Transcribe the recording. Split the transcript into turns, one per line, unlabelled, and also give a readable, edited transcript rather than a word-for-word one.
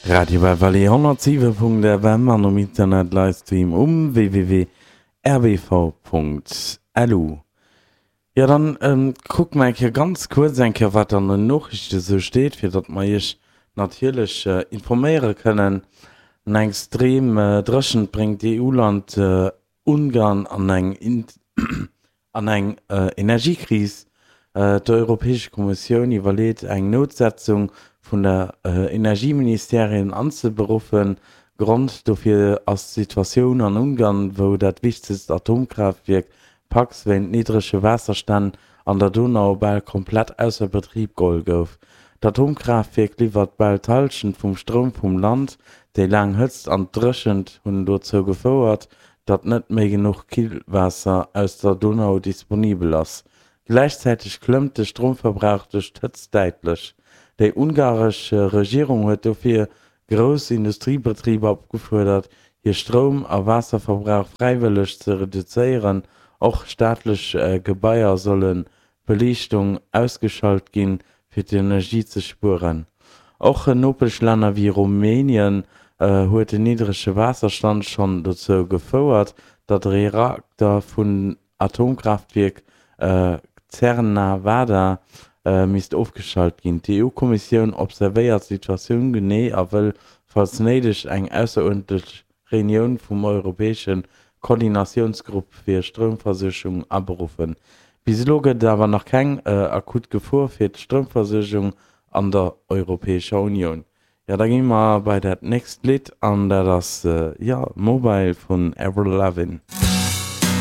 Radio Belle Vallée 107.fm an um Internet Livestream um www.rbv.lu. Jo dann kucke mer eng Kéier ganz kuerz eng Kéier wat an den Noriichte sou steet, fir datt mer iech natierlech informéiere kënnen. Eng extrem Dréchent bréngt d'EU-Land Ungarn an eng an eng Energiekris. D'Europäesch Kommissioun iwwerleet eng Noutsetzung vun der Energieministèrien anzeberuffen. Grond dofir ass d'Situatioun an Ungarn, wou dat wichtegst Atomkraaftwierk Paks wéint niddrege Waasserstänn an der Donau bal komplett ausser Betrib geholl gouf. D'Atomkraaftwierk liwwert bal d'Hallschent vum Stroum vum Land. Déi laang Hëtzt an d'Dréchent hunn dozou gefouert, datt net méi genuch Killwaasser aus der Donau disponibel ass. Gläichzäiteg klëmmt de Stroumverbrauch duerch d'Hëtzt däitlech. Déi ungaresch Regierung huet dofir grouss Industriebetriber opgefuerdert, hir Stroum a Waasserverbrauch fräiwëlleg ze reduzéieren. Och staatlech Gebaier sollen d'Beliichtung ausgeschalt ginn, fir d'Energie ze spueren. Och Nopeschlänner wéi Rumänien huet den niddrege Waasserstand schonn dozou gefouert, datt Reakter vun Atomkraaftwierk Cernavada misst ofgeschalt ginn. D'EU-Kommissioun observéiert d'Situatioun genee a wëll, falls néideg, eng ausseruerdentlech Reunioun vum europäesche Koordinatiounsgrupp fir Stroumversuergung aberuffen. Bis elo gëtt et awer nach keng akut Gefor fir d'Stroumversuergung an der Europäescher Unioun. Jo, da gi mer bei dat nächst Lidd an dat ass, jo, Mobile vun Avril Lavigne.